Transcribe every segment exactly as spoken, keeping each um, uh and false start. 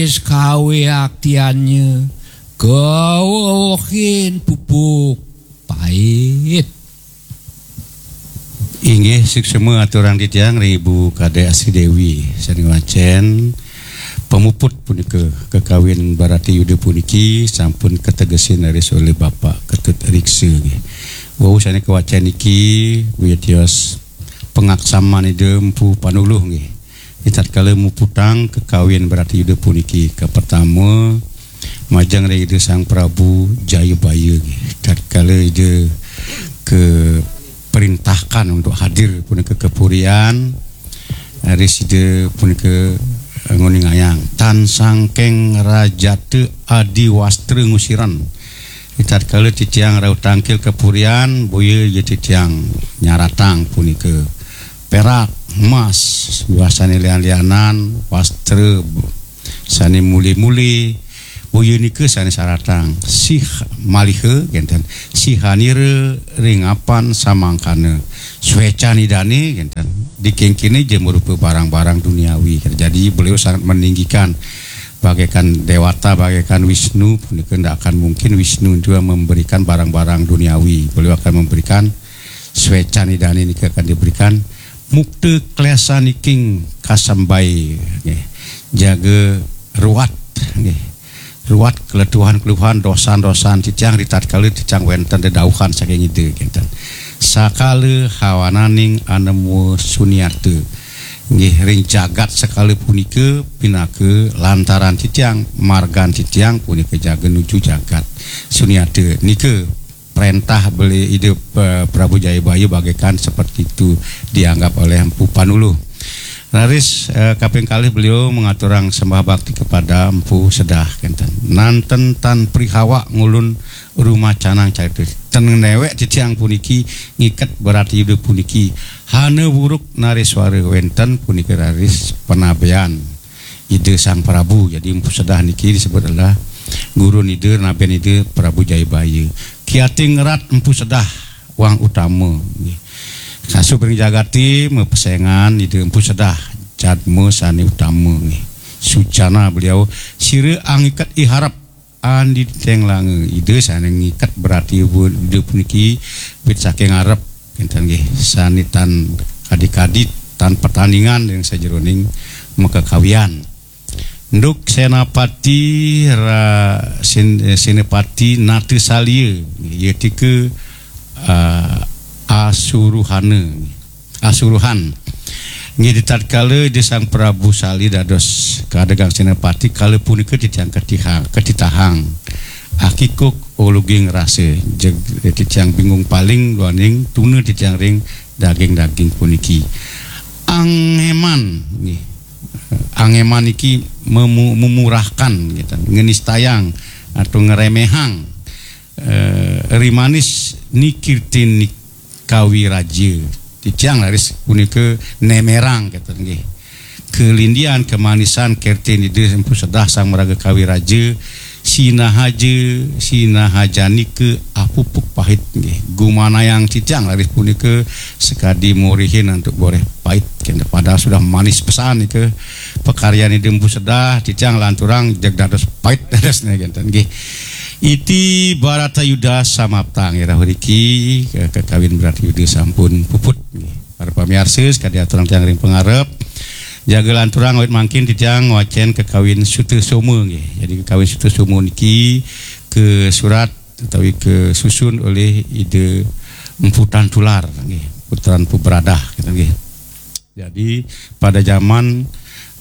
Kawéaktiannya kawehin pupuk pait. Inggih, suksma aturang titiang ring Ibu Kadek Asri Dewi sané ngwacén pamuput punika, kakawin Barata Yuda puniki sampun kategesin raris olih Bapak Ketut Riksa nggih. Wau sané kawacén niki, wigatios pangaksaman Ida Mpu Panuluh nggih. Ritatkala muputang kakawin Barata Yuda puniki, kapertama majeng ring Ida Sang Prabu Jayabaya nggih. Tatkala Ida kaprintahkan untuk hadir punika ka purian, raris Ida punika nguningayang, "Tan sangking rajata adiwastra ngusiran." Ritatkala titiang rauh tangkil ka purian, boya ja titiang nyaratang punika perak, emas, miwah sané lian-lianan, wastra sané muli-muli, boya nika sané saratang. Sih maliha kénten, sihanira ring apan samangkana, swécan Idané kénten. Dikénkéné ja marupa barang-barang duniawi. Jadi beliau sangat meninggikan bagaikan dewata, bagaikan Wisnu, punika ndak akan mungkin Wisnu juga memberikan barang-barang duniawi. Beliau akan memberikan swécan Idané nika akan diberikan mukta klésaniking kasembai, nggih. Jaga ruat, nggih. Ruat keletuhan-keletuhan, dosan-dosan titiang ritatkala titiang wénten dedauhan saking Ida, kénten. Sakala hawananing anema sunyata. Nggih, ring jagat sekala punika pinaka lantaran titiang, margan titiang punika jaga nuju jagat sunyata. Nika prentah beli Ida, eh, Prabu Jayabaya bagaikan seperti itu dianggap oleh Empu Panuluh. Raris, eh, kaping kalih beliau mengaturang sembah bakti kepada Empu Sedah, kénten. Nanten tan prihawak ngulun rumacanang carita. Ten néwék titiang puniki ngiket Barata Yuda puniki. Hana wuruk nariswara wénten punika raris panabean Ida Sang Prabu. Jadi Empu Sedah niki disebut adalah gurun Ida, naben Ida Prabu Jayabaya. Kiating ngerat Empu Sedah wang utama nggih. Kasub ring jagaté mapesengan Ida Empu Sedah jadma sané utama nggih. Sucana beliau, sira angiket iharep andi teng langa. Ida sané ngiket Barata Yuda puniki wit saking arep, kénten nggih, sané tan kadi-kadi, tan pertandingan ring sajeroning makakawian. Nduk Senapati ra, Sen-, eh, Senapati Natasalia, ya tika, ah, Asuruhana, Asuruhan. Nggih, di tatkala Ida Sang Prabu Sali dados kadegang Senapati, kala punika titiang katihang, katitahang. Akikuk uluging rasa, jeg, titiang bingung paling duaning tuna titiang ring daging-daging puniki. Angeman, nggih. Angeman iki memu-, memurahkan, gitu, ngenistayang atau ngeremehang, eh, rimanis nikirtin nik-, kawiraja. Titiang raris punika nemerang, gitu, nggih. Kelindian, kemanisan, kertin Ida Empu Sedah Sang Maraga Kawiraja, sinahaja, sinahajanika apupuk pahit, nggih. Gumanayang titiang raris punika sakadi morihin antuk boreh pahit, kénten. Padahal sudah manis pesan nika pakaryan Ida Empu Sedah, titiang lanturang jeg dados pahit dadosnya, kénten, nggih. Iti Barata Yuda samaptang, irah riki, ke-, kekawin Barata Yuda sampun puput, nggih. Para pamiarsa, sakadi aturang tiang ring pangarep, jaga lanturang awit mangkin titiang ngwacén kekawin Sutasoma nggih. Jadi kekawin Sutasoma niki kasurat utawi kasusun oleh Ida Empu Tan Tular nggih, putran Empu Beradah, gitu nggih. Jadi pada zaman,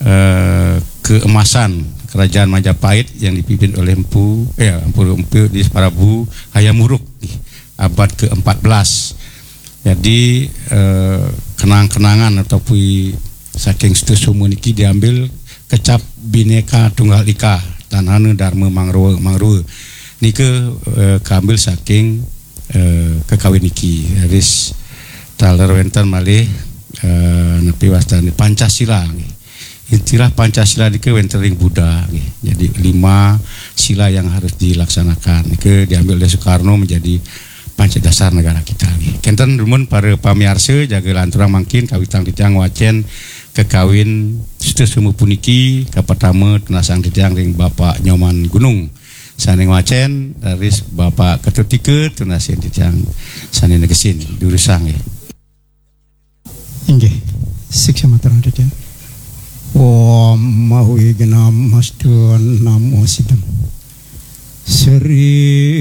eh, keemasan Kerajaan Majapahit yang dipimpin oleh Empu, eh, Empu, Empu di Prabu Hayam Wuruk nggih, abad keempat belas. Jadi, eh, kenang-kenangan ataupun saking Sutasoma niki diambil kecap Bhinneka Tunggal Ika, tan hana Dharma Mangrua, Mangrua. Nika, eh, kaambil saking, eh, kekawin niki. Raris taler wénten malih, eh, napi wastané Pancasila nggih. Istilah Pancasila nika wénten ring Buddha nggih. Jadi lima sila yang harus dilaksanakan. Nika diambil oleh Soekarno menjadi Pancasila dasar negara kita nggih. Kénten dumun para pamiarsa, jaga lanturang mangkin kawitang titiang ngwacén kekawin seterusnya puniki, kapertama tunasang titiang ring Bapak Nyoman Gunung sané ngwacén, raris Bapak Ketut Tika tunasin titiang sané negesin durusang nggih. Inggih, siksamaterang titiang. Om Mahwi Genam Astu Namo Sidam. Sri